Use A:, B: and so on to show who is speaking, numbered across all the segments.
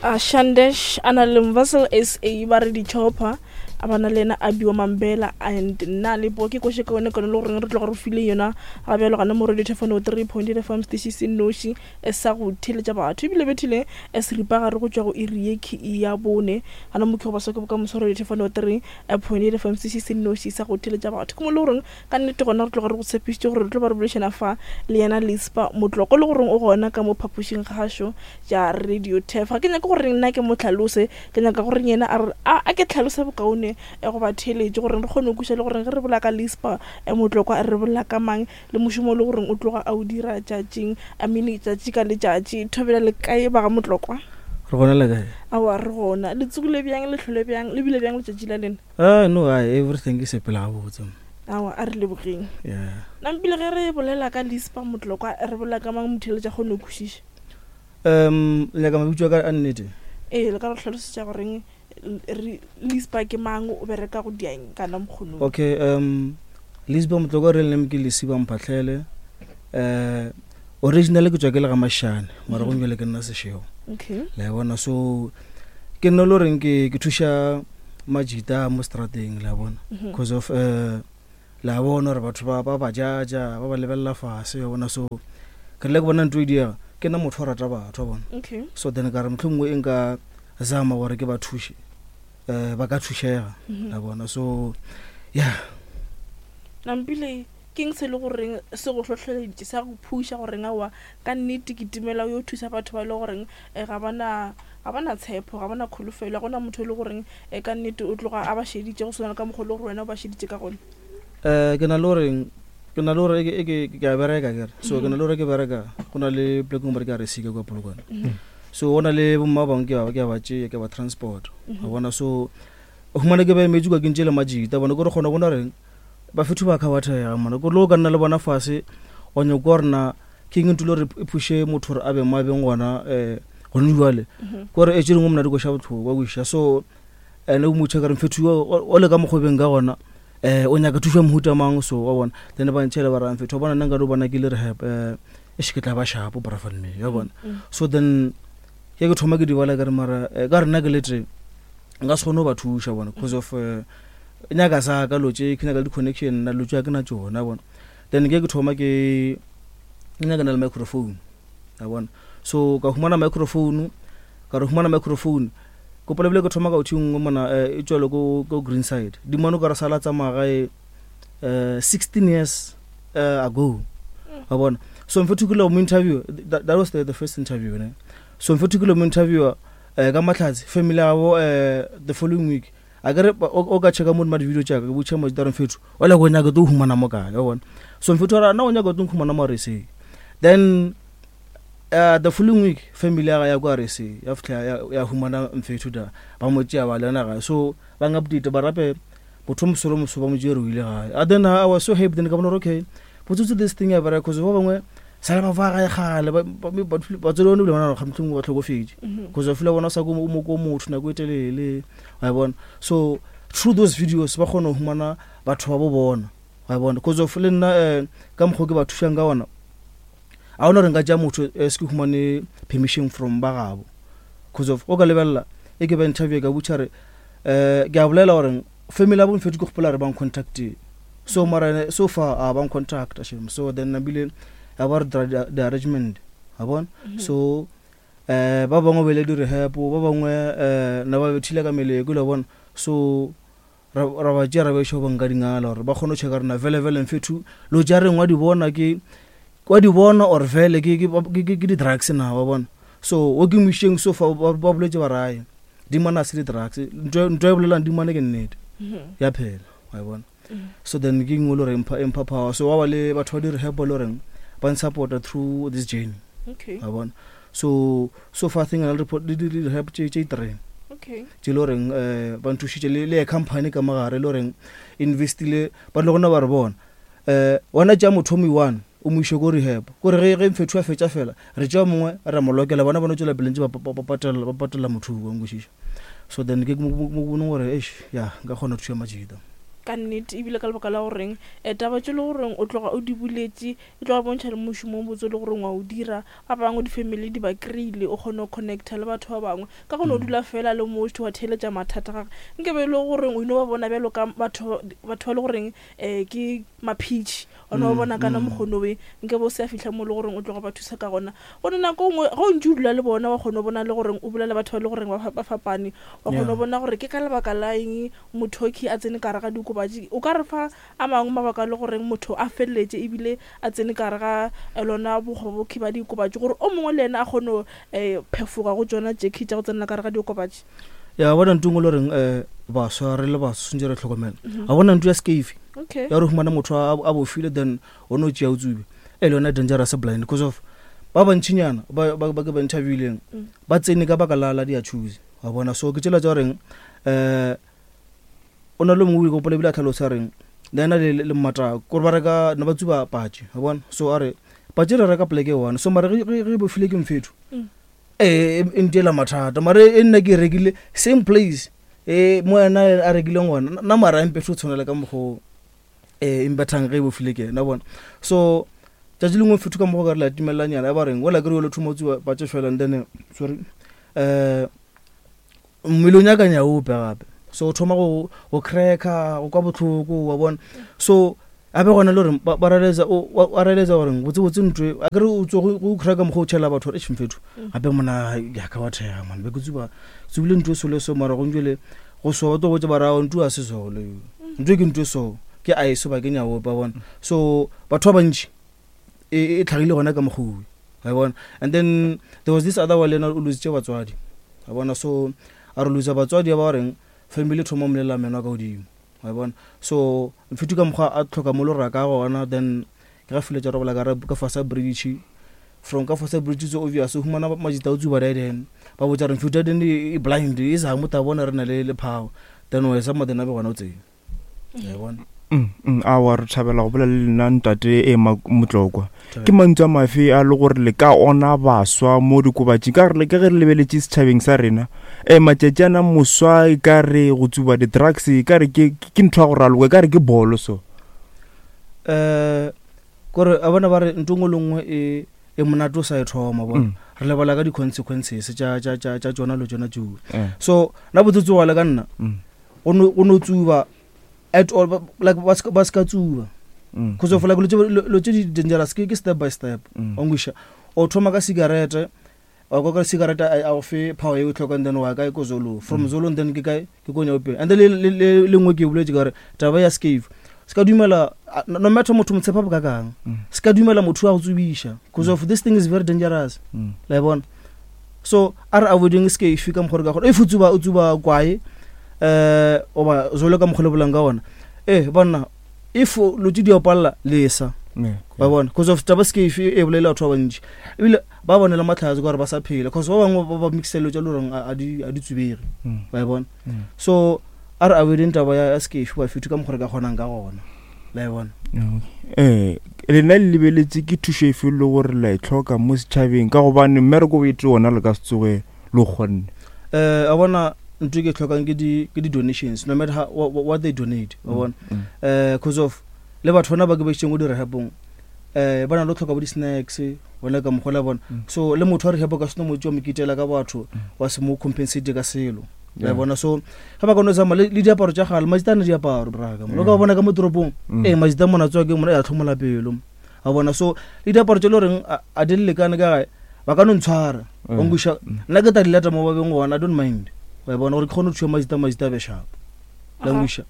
A: A Shandesh a na le Mvasel SA ba re di-chopper a ba na le yena Abiwa Mambela and nna le po ke koše kaone kaone le goreng re tloga re file yona ga bjalo gana mo radio thefano 3.8 FM steši se nnoši sa go theeletša batho ebile bethile seripa gare go tšwa go iri ye ke ya bone gana mo ke go ba soke bokamoso radio thefano 3.8 FM steši se nnoši sa go theeletša batho ke mo le goreng Ka nnete gona re tloga re go tshepišitše gore re tlo ba re boledišana fa le yena Lispa Motloko le goreng o gona ka mo phapošing kgašo tša Radio Turf. Ga ke nyake gore nna ke mo hlalose, ke nyaka gore yena a re a a ke hlalose bokaone eh, go ba theeletše gore re kgone go kweša le gore ge re bolela ka Lispa eh, Motlokwa re bolela ka mang le mošomo le goreng o tloga a o dira tšatšing I mean tšatši ka letšatši. Thobela le kae ba ga Motlokwa?
B: Re gona le kae?
A: Aowa re gona. Le tsogile bjang, le hlole bjang, le bile bjang letšatši la lena?
B: Ah, no, I, everything ke sepela gabotse.
A: Awa, a re lebogeng.
B: Yeah.
A: Nampile ge re bolela ka Lispa Motlokwa, re bolela ka mang motheeletša kgone go kwešiša?
B: Um, le nyaka mabitso a ka a nnete?
A: Ee, le ka re hlalosetša goreng re Lispa ke mang, o bereka go diang kana mokgonong?
B: Okay, um, Lispa Motlokwa real name ke Lesiba Mphahlele. Uh, originally ke tswa ke le ga Mashane, mara mm -hmm. jwale ke nna Seshego.
A: Okay.
B: Le a bona, so ke nna le goreng ke ke thuša majita mo strateng le a bona mhm. because of uh, le a bona gore batho ba ba ba jaja ba ba lebelela fase wa bona so ke rile ke bona ntho e diega ke nna motho wa rata batho wa bona
A: okay.
B: so then ka re motlho mongwe e nka zama gore ke ba thuše um ba ka thušega mhm. la bona so yeah
A: nampile Ke'ng se e le goreng se go hlohleleditše, sa go phuša goreng aowa ka nnete ke timela o yo thusa batho ba e le goreng ga ba na, ga ba na tshepo, ga ba na kholofelo, ga go na motho e le goreng ka nnete o tloga a ba šeditše go swana le ka mokgwa o le gore wena o ba šeditše ka gona?
B: Ke na le gore, ke na le gore e ke, ke a bereka akere, so ke na le gore ke bereka go na le poleke nngwe ba re ke RSC ka kua Polokwane, so go na le bomma ba bangwe ke a, ke a ba tšea ke a ba transport, wa bona, so o humana ke ba emetše kua ke ntše le majita bona, ke gore kgona go bona gore Bafethu ba khabathega mona ko lo ka nna le bona fase wa nyoko gore na ke eng ntho le gore e phushe motho gore a be mo a beng gona um gone jwale mhm. kore e tše dingwe mona di koša botlhoko wa kwešiša so ene o motho ka re mfethu o le ka mokgobeng ka gona um o nyaka thušo ya mohuta mang so wa bona then ba ntšhele ba rang fethu wa bona nna nka no bona ke le rehab um e še ke tla ba shapo brafanme ya bona mm. so then ke ke thoma ke di bala ka re mara eh, ka re nna ke le tee nka se kgone go ba thuša bona because of eh, nyaka sa ka lo tše ke nyaka le di-connection nna lo tše ke na tšona bona then ke ke thoma ke ke nyaka na le microphone a bona so ka humana microphone ka re humana microphone kopola bile ke thoma ka uthi nngwe mona eh, e tswele ko ko green side di mono ka re sala tsamaya gae eh 16 years uh, ago wa bona so mfethu ke lo mo interview that, that was the, the first interview ne so mfethu ke lo mo interview eh ka matlhatsi family ya bo eh the following week a kere o ka checka mo di video tša ka ke botša motho re mfethu o le go nyaka to humana mo kae wa bona so mfethu ra na o nyaka to humana mo RSA then uh, the following week family ya ya kwa RSA ya fihla ya, ya humana mfethu da ba mo tšea ba lena gae so ba nga update ba rape motho mosolo moso ba mo tšere o ile gae and then I was so happy then ka bona okay botsotsi this thing ya bereka cause ba bangwe sale ba fa gae gale batswadi bone bile bona ga mohlomongwe ba tlhokofetše cause ba fila bona sa ko mo ko motho nako e telele wa bona so through those videos ba kgona go humana batho ba bo bona wa bona cause of le nna um ka mokgwa ke ba thušang ka ona a ona gore nka tšea motho eh, se ke humane permission from ba gabo cause of o ka lebelela e ke ba interview ka butšha re um ke a bolela gore family ya bomfetho ke gopola re ba ncontactile so mara so far a ba ncontacta shem so then nabile ya ba re dira di-arrangement wa bona mhm. so um ba bangwe ba ile di-rehab ba bangwe um na ba bethile ka meleko le bona so ra ba tšea ra ba iša go banka dingala gore ba kgone go checka rena vele vele mfethu lo tša reng wa di bona ke wa di bona or vele ke ke di-drugs na wa bona so o ke mošeng so fa ba boletse ba raye dimane a se di-drugs ntho e bolelang dimane ke nnete mhm. ya phela wa e bona mhm. so then ke nngwe le gore empha power so wa ba le batho ba di-rehab le goreng ba nsupporta through this journey
A: okay.
B: wa bona so so far thing le di-rehab tše three
A: okay.
B: tše le goreng um ba nthušitše le company ka mogare le goreng investile ba le gona ba re bona um wena tša motho o one o mo iše ko rehab kore ge ge mfethu a fetša fela re tšea mongwe ra mo lokela bona bona tswela pele ntse ba patela ba patela motho wa nkwešiša so then ke mo boneng gore eish ya nka kgona go thuša majita.
A: Ka nnete, ebile ka lebaka la goreng um taba tše le goreng o tloga o di buletše e tloga bontšha le mošomo o botse le goreng wa o dira. Ba bangwe di-family di ba kry-ile, o kgone go connecta le batho ba bangwe ka go no dula fela le motho wa theeletša mathata gage. Nke be e le goreng o ino ba bona bjalo ka batho batho ba le goreng um ke maphitši, o no ba bona kana mokgonowe, nke be o se a fihla mo le goreng o tloga ba thusa ka gona. Gone nako nngwe ge o ntse o dula le bona wa kgona go bona le goreng o bolela batho ba le goreng ba fapane, wa kgona go bona gore ke ka lebaka la eng motho a tsene ka gare ga diokobatši. O ka re fa a mangwe mabaka le goreng motho a feleletše ebile a tsene ka gare ga eh, lona bokgobokhi ba diokobatši, gore o mongwe le yena a kgone go um phefoga go tsona tšekhi tša go tsenela ka gare ga diokobatši?
B: Ya bona ntho engwe le goreng um baswa re le baswa tshwanetse re tlhokomela. Ga bona ntho ya scave
A: Okay.
B: ya gore humana motho a bofile, then o no tšea o tsube, e le yona dangerous blind, because of ba bantšhinyana ba ke ba interviewileng ba tsene ka baka la di choose wa bona. So ke tsela tša goreng um o na le mongwe o gopola ebile a tlhalosa reng le ena le mmata kore ba reka ne ba tsuba patše wa bona. So a re patše re reka poleke e one, so mare ge bofile ke mfetho ee e ntiela mathata, mare e nna ke e rekile same place e mo ena a rekileng gona nna, mara empefe o tshwanela ka mokgwa e mbethang ge e bofile ke ena bona. So tšatši lengwe fetho ka mokgwa ka re la timelelanyana ya ba reng ola kere yo le thoma o tsuba patše fela, and then sorry um mmele o nyaka nyaope gape, so o thoma go cracka, go kwa botlhoko wa bona. So a be gona le gore ba realize wa realize gore botse botse ntwe a kere o tswe go cracka mokgwa o tšhela batho gore eish mfetho gape mona yaka wa thega man, be ke tsuba tsubile ntwe sole so, mara go njwele go so ba tlo botsa ba ra ntwe a se sole ntwe ke ntwe, so ke ice ba ke nyaope wa bona. So batho ba bantši e tlhagile gona ka mokgowe wa bona. And then there was this other one le ena o lositse batswadi wa bona. So a re losa batswadi ba reng family thoma molela meno a ka godimo wa bona. So mfethu ka mokgwa a tlhoka mo lora ka gona, then ke ga file tša robala ka ka fasa bridge, from ka fasa bridge so obvious o humana majita o tsuba then ba botsa re mfethu then e blind e sa mo ta bona re na le power, then o esa mo then a be gona o tsene ya bona.
C: Awa re thabela go bolela le lena ntate e Motlokwa. Ke mantšu a mafe a le gore le ka ona baswa mo dikobatšing, ka gore ka ge re lebeletše setšhabeng sa rena um matšatši ana moswa e ka re go tsuba di-drugs e ka re ke ntho ya go raloka, e ka re ke bolo so?
B: Um kore a bona ba re ntho nngwe le nngwe e monate o sa e thoma bona, re lebala ka di-consequences tša tšona le tšona tseo. So na botsotsi wa le ka nna go no tsuba at all, like ba se ka tsuba, cause of like lo tse di dangerous ke step by step. Wa nkweša, o thoma ka cigarette, wa kwa ka cigarette a go fe power e o tlhokang, then wa kae ko zolo, from zolo then ke kae ke ko nyaopeng. And then le nngwe ke boletse ka gore taba ya scave se ka dumela no matter motho mo tshepa bo kakang, se ka dumela motho a go tsubiša, cause of this thing is very dangerous la bona. So a re avoiding scave ka mokgwa re ka gore if o tsuba o tsuba kwae um oba zolo ka mokgwa le bolang ka ona e banna, if lo tse di opalela lesa ba bona, cause of taba scave e bolela batho ba bantši ebile ba bone le matlhatse ka gore ba sa phela, cause ba bangwe ba mixelo tša le goreng a di tsubege ba e bona. So a re avoiding taba ya scave ba fetho ka mokgwa re ka kgonang ka gona la e bona.
C: Ee, lena le lebeletse ke thušo efe le gore la e tlhoka mo setšhabeng, ka gobane mmereko o ete ona le ka se tsoge le kgonne?
B: A bona ntho e ke e tlhokang ke di-donations, no matter how, what they donate wa bona, cause of le batho bona ba ke ba isitseng ko di-rehabong ba na le tlhoka bo di-snacks bona ka mokgwa la bona. So le motho wa rehab ka seno motse wa mo kitela ka batho wa se mo compensate ka selo la bona. So ga ba ka no tsamaya le diaparo tša gale, majita a na diaparo braka mo ka bona ka mo toropong ee majita mona tswa ke mona ya tlhomola pelo a bona. So le diaparo tše le goreng a di lekane ka gae ba ka no ntshwara wa nkweša, nna ke tla di lata mo ba beng gona, I don't mind wa bona, gore ke kgone go thuša majita, majita a be sharp la nkweša.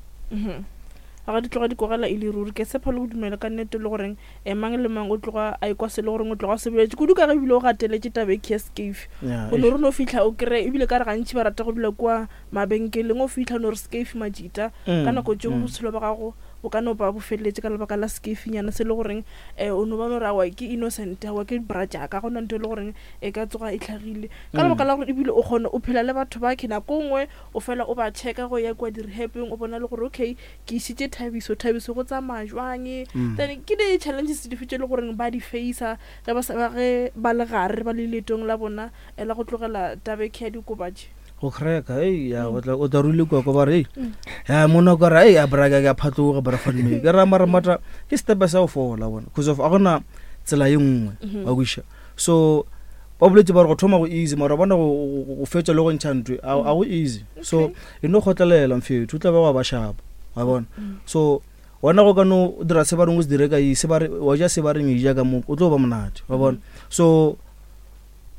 A: Ga di tloga di kogela e le ruri, ke tshepa le go dumela ka nnete le goreng um mang le mang o tloga a ekwa se le goreng o tloga o se boletse kudu, ka ge ebile o gateletse taba e ke scave. O no re no fitlha o kry, ebile ka re gantši ba rata go dula kua mabenkeleng, o fitlha no re scave majita ka nako tšeo botshelo ba gago bo ka no ba bo feleletse ka lebaka la scafenyana se le goreng um o no ba no re awa ke innocent, awa ke bra jaaka gona ntho e le goreng e ka tsoga e tlhagile ka lebaka la gore ebile o kgone o phela le batho ba ke nako nngwe o fela o ba checka go ya kua di-rehabeng, o bona le gore okay ke isitše Thabiso, Thabiso go tsamaya jwang. Then ke di-challenges dife tše le goreng ba di facea ge ba sa ge ba le gare ba le leetong la bona la go tlogela tabekhe ya diokobatši?
B: Go cracka, ei, ya, o tla o tla rule kwa kwa ba re, ei, ya mona ka re, ei, a bra ka phatloga bra fa mme. Ke ra mara mata ke step sa go fola bona. Because of a gona tsela ye nngwe, wa kwisha. So ba boletse ba re go thoma go easy mara bona go fetsa le go ntsha ntwe a go easy. So e no kgotlelela mfethu, o tla ba wa ba shapa, wa bona. So wena go ka no dira se ba reng o se dire ka se ba re wa ja se ba reng e ja ka mo, o tlo ba monate, wa bona. So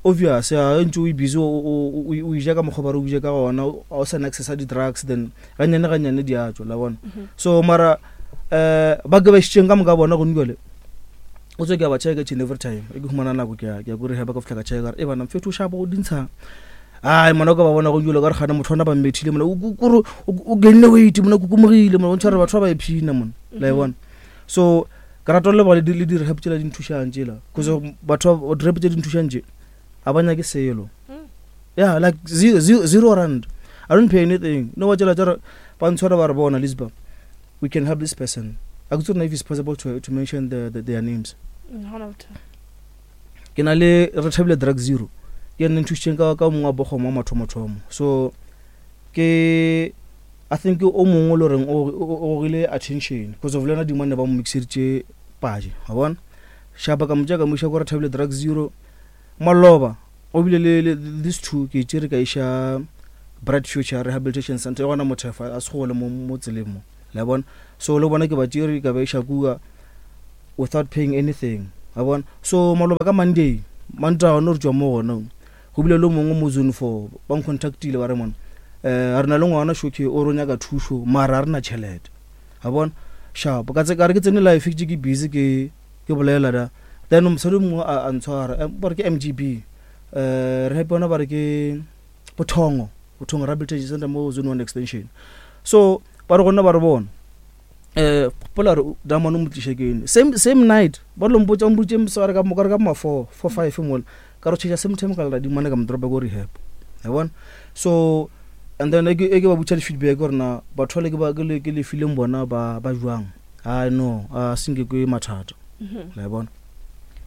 B: obvious ya ntse o busy o ja ka mokgwa ba re o ja ka gona, ga o sa access di-drugs, then ganyane ganyane di a tswa, la bona. So mara ba ke ba išitšeng ka moka bona gone jwale, o tswe ke a ba check each and every time e ke humana nako ke a ko rehab ka fihla ka check ka re e bana mfetho o shapa o dintsha. Ai mona ka ba bona go jwale ka re gana motho ona ba mmethile mona, o o gainne weight mona, kukumogile mona, o ntshware batho ba ba iphina mona, la e bona. So ke rata le leboga le di-rehab tsela di nthušang tsela, cause batho ba di-rehab tse di nthušang tse ga ba nyake selo. Yeah, like R0, I don't pay anything. No, wa tsela tsa ba ntshwara ba re bona Lisba, we can help this person. I don't know if it's possible to mention their names. Ke na le re thabile drug zero, ke nne nthušitšeng ka mongwe wa bogoma wa mathomothomo. So ke I think o mongwe le reng o gogile attention because of le yena dimane ba mo mixeditše paje, wa bona. Shapa ka motša ka mo iša ko re thabile drug zero maloba, o bile le these two ke tšere ka iša Bright Future Rehabilitation Center e gona Mothefa, a se gole mo tseleng mo, la bona. So le bona ke ba tšere ka ba iša kua without paying anything, wa bona. So maloba ka Monday, Mantaga no re tšwa mo gona, go bile le mongwe mo zone 4 ba ncontactile ba re mona, re na le ngwana shoke o re nyaka thušo mara a re na tšhelete, wa bona. Sharp ka tse ka re ke tsene life ke ke busy ke bolela da, then mosadi mongwe a ntshwara, ba re ke MGB, re happy bona ba re ke Bothongo Rehabilitation Center mo zone 1 extension. So ba re gona ba re bona pola re damane mo tliše ke ene same night ba lo mpotsa mpotse mosegare ka mo ka re ka ma 4 4 5 mola ka re tšhetša same time ka la dimane ka mo dropa ko rehab, ya bona. So and then e ke ba botša di-feedback gore na batho ba le ke le fileng bona ba jwang. I no a senke ke mathata, la bona.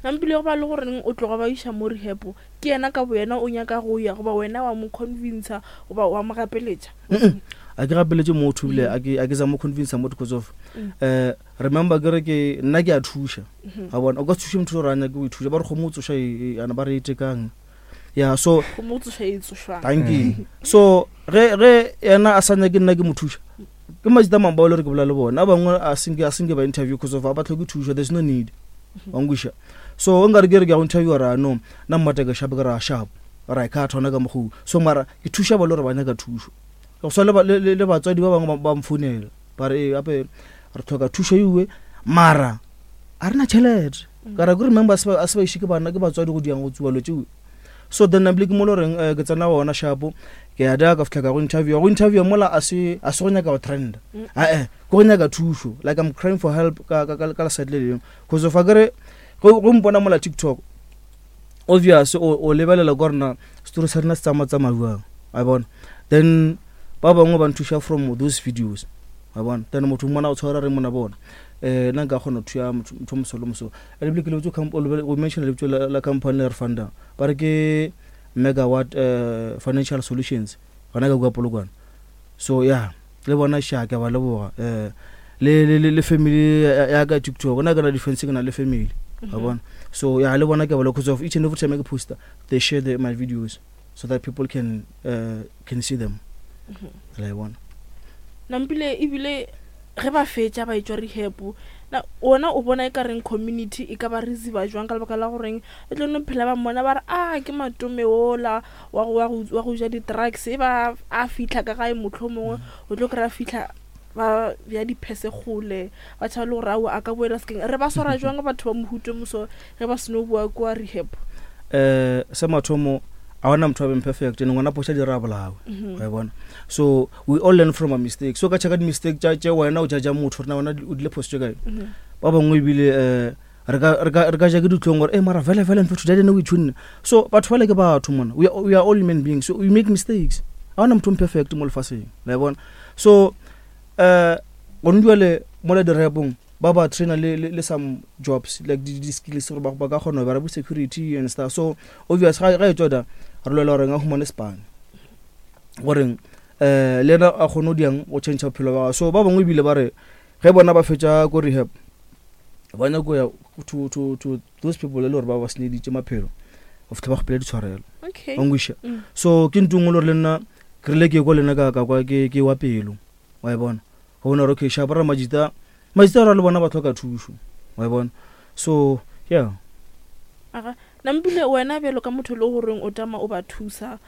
A: Nampile go ba le goreng o tloga ba iša mo rehab, ke yena ka boyena o nyaka go ya goba wena wa mo convincer goba wa mo gapeletša?
B: A ke gapeletše motho ebile a ke za mo convincer motho, because of remember ke re ke nna ke a thuša, ga bona. O ka se thuše motho gore a nyake go ithuša, ba re kgomo o tsoša ana ba re e tekang. Yeah, so
A: kgomo o tsoša e tsošwang.
B: Thank you. So ge yena a sa nyake nna ke mo thuša, ke majita mang bao le re ke bolela le bona, a bangwe a senke ba interview because of a ba tlhoke thušo, there's no need, wa nkweša. So o nkare ke re ke ya go interview ra no nna mmata ke sharp, ke ra sharp ra e khatha hona ka mokgwa. So mara ke thuša ba le gore ba nyaka thušo, go swa le batswadi ba bangwe ba mfounela ba re gape re tlhoka thušo ewe mara a rena tšhelete. Ka ra ke remember a se ba iše ke bana ke batswadi go diang go tsuba lo tšeo. So then nabile ke mo le goreng ke tsena gona shapo, ke ya da ka fihla ka go interview, go interview mola a se go nyaka go trend, ae ke go nyaka thušo, like I'm crying for help ka ka ka side le lengwe, cause of a kere go mpona mola TikTok, obvious o lebelela kwa rena story sa rena se tsamaya tsamaya jwang, wa bona. Then ba bangwe ba nthuša from those videos, wa bona. Then motho mmona o tshwara re mona bona, nna nka kgona go thuša motho moso le moso. And ebile ke lebetse go mention lebitso la company le re fundang, ba re ke Megawatt Financial Solutions gona ka kua Polokwane. So yeah, le bona sha ke ba leboga, le family ya ka TikTok, nna ke na defense, ke na le family, wa bona. So yeah, le bona ke ba leboga, because of each and every time ke poster they share my videos so that people can see them, la bona.
A: Nampile ebile ge ba fetša ba etšwa rehab, na wona o bona e ka reng community e ka ba receiver jwang, ka lebaka la goreng e tlo no phela ba mmona ba re a ke matome ola wa go ja di-drugs, e ba a fitlha ka gae motlho mongwe o tlo kry-a fitlha ba bja diphese kgole ba tšhaba le gore ao a ka boela sekeng. Re ba swara jwang batho ba mohuto moso ge ba seno boa kua rehab?
B: Se mathomo a ona motho wa beng perfect, ene ngwana phoša di ra bolawe, wa bona. So we all learn from our mistakes. So ka checka di-mistake tša wena o judge motho rena wena o dile phoso tše kae. Ba bangwe ebile re ka ja ke ditlhong gore mara vele vele mfetho dadi ne o itshunne. So batho bale ke batho mona, we are all human beings, so we make mistakes. A ona motho perfect mo lefaseng, la bona. So gone jwale mo le di-rehab-ong ba ba trainer le some jobs like di skills gore ba ka kgona go bereka bo security and stuff. So obvious ga e tswa da re lwela gore nga humane spane. Goreng um le yena a kgone go diang go change bophelo ba gagwe. So ba bangwe ebile ba re ge bona ba fetša ko rehab ba nyako ya to those people e le gore ba ba senyeditše maphelo go fitlha ba kgopela ditshwarelo.
A: Okay.
B: Wa nkwešiša?
A: Mm.
B: So ke ntho e nngwe le gore le nna ke rile ke kwa le nna ka kwa ke wa pelo. Wa e bona? Go bona gore okay sharp ra majita majita ra le bona ba tlhoka thušo. Wa e bona? So yeah.
A: Aga, Nampile wena bjalo ka motho le goreng o tama o ba thusa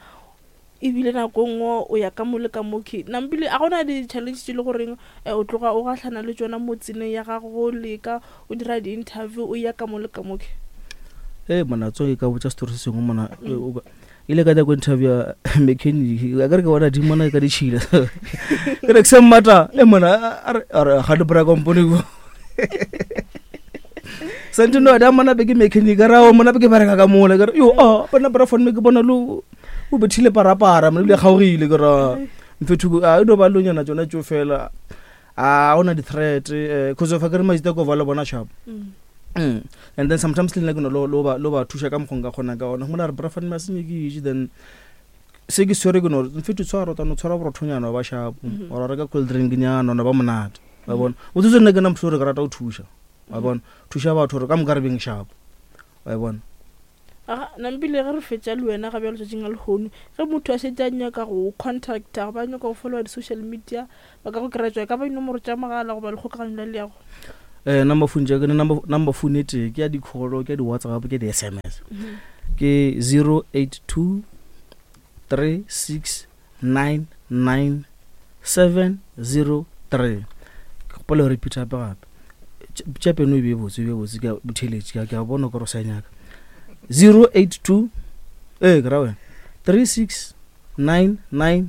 A: ebile nako nngwe o ya ka mo le ka mo ke Nampile a gona di-challenge tše le goreng eh, o tloga o gahlana le tšona mo tseleng ya gago go leka o dira di-interview o ya ka mo le ka mo ke?
B: Ee mona tso ke ka botša story se sengwe mona e, o ka- ile ka nyako interview ya mechanic a kere ke bona di mona ka ditšhila ke re ke se mmata e mona a re a re ga di bra company ko santse no da mona be ke mechanic ra o mona be ke bereka ka mola ke re yo a bona bra phone me ke bona lo o bethile parapara mona ebile kgaogile ke ra mfethu a e no ba lonyana tsona tso fela a ona di-threat eh, cause of a ke re majita ko ba le bona sharp. And then sometimes le nna ke no lo ba thuša ka mokgwa nka kgonang ka ona gomela re bra phone me a se nyakise then se ke swere ke no re mfethu tshwara o tano tshwara borothonyana wa ba sharp or reka cold drink nyana ona ba monate wa bona o tsetse nna ke nna motho o re ke rata go thuša wa bona thuša batho gore ka moka re beng sharp wa bona.
A: Aga, Nampile ge re fetša le wena ga bjalo tšatšing la lehono, ge motho a šetše a nyaka go contacta goba a nyaka go followa di-social media, ba ka go kry-a tšwa e ka ba dinomoro tša mogala goba lekgokaganyo la leago?
B: Eh, number phone tša ke number phone e tee ke ya di-call ke ya di-whatsapp ke ya di-sms ke 082 36 99 703 ke gopola go repeat gape gape tša peno e be botse e be botse ke a botheletše ke a bona kore o sa nyaka 082 ee ke ra wena 36 99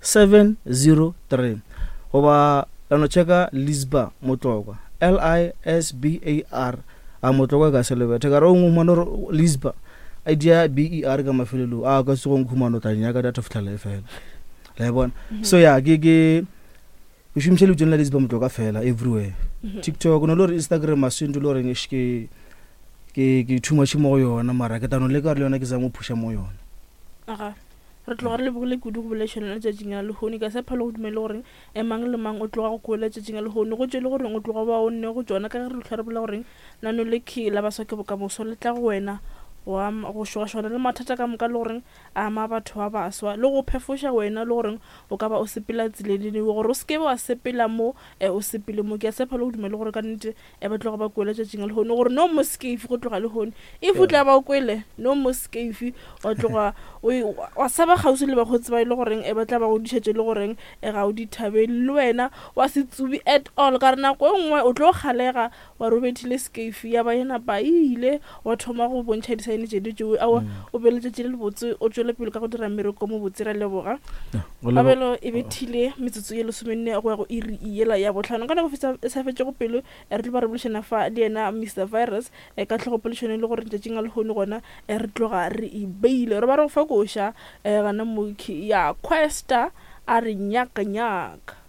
B: 703 goba la no checka Lisbar Motlokwa L I S B A R a Motlokwa ka se lebethe ka re o ngwe humane gore Lisbar a dia B E R ka mafelelong a ka se go nkhumano tla nyaka data fitlhela e fela la e bona. So ya ke ke šomiša lebitsong la Lisbar Motlokwa fela everywhere. TikTok no le gore Instagram a se ntho le gore ke ke ke too much mo go yona mara ke tano leka gore le yona ke zama go phusha mo yona.
A: Aga, re tloga re lebogile kudu go boledišana le letšatšing la lehono. Ke a tshepa le go dumele gore e mang le mang o tloga go kwele letšatšing la lehono. Go tšwe le gore o tloga ba o nne go tšona ka ge re hlwa re bolela gore nano le key la baswa ke bokamoso le tla go wena go ama go šogašogana le mathata ka moka le goreng a ama batho ba baswa le go phefoša wena le goreng o ka ba o sepela tseleng gore o se ke wa sepela mo e o sepele mo. Ke a tshepa le go dumele gore ka nnete e ba tloga ba kwele tšatšing la lehono gore no mo scafe go tloga lehono if o tla ba o kwele no mo scafe wa tloga wa saba kgauswi le bakgotsi ba e le goreng e ba tla ba go dišetše le goreng e ga o di thabele le wena wa se tsubi at all ka re nako e nngwe o tlo kgalega wa re o bethile scafe ya ba e napa e ile wa thoma go bontšha disaene tše di tšeo aowa o be letšatši le lebotse o tšwele pele ka go dira mmereko mo botse ra leboga. Kabelo e bethile metsotso ye lesomenne go ya go iri yela ya bohlano. Ka nako e sa fetšego pelo re tlo ba re boledišana fa le yena Mister Virus ka tlhogopoledišano e le gore letšatšing la lehono gona re tloga re e beile. Re ba re go fa koša gana moki ya Questa a re nyaka nyaka.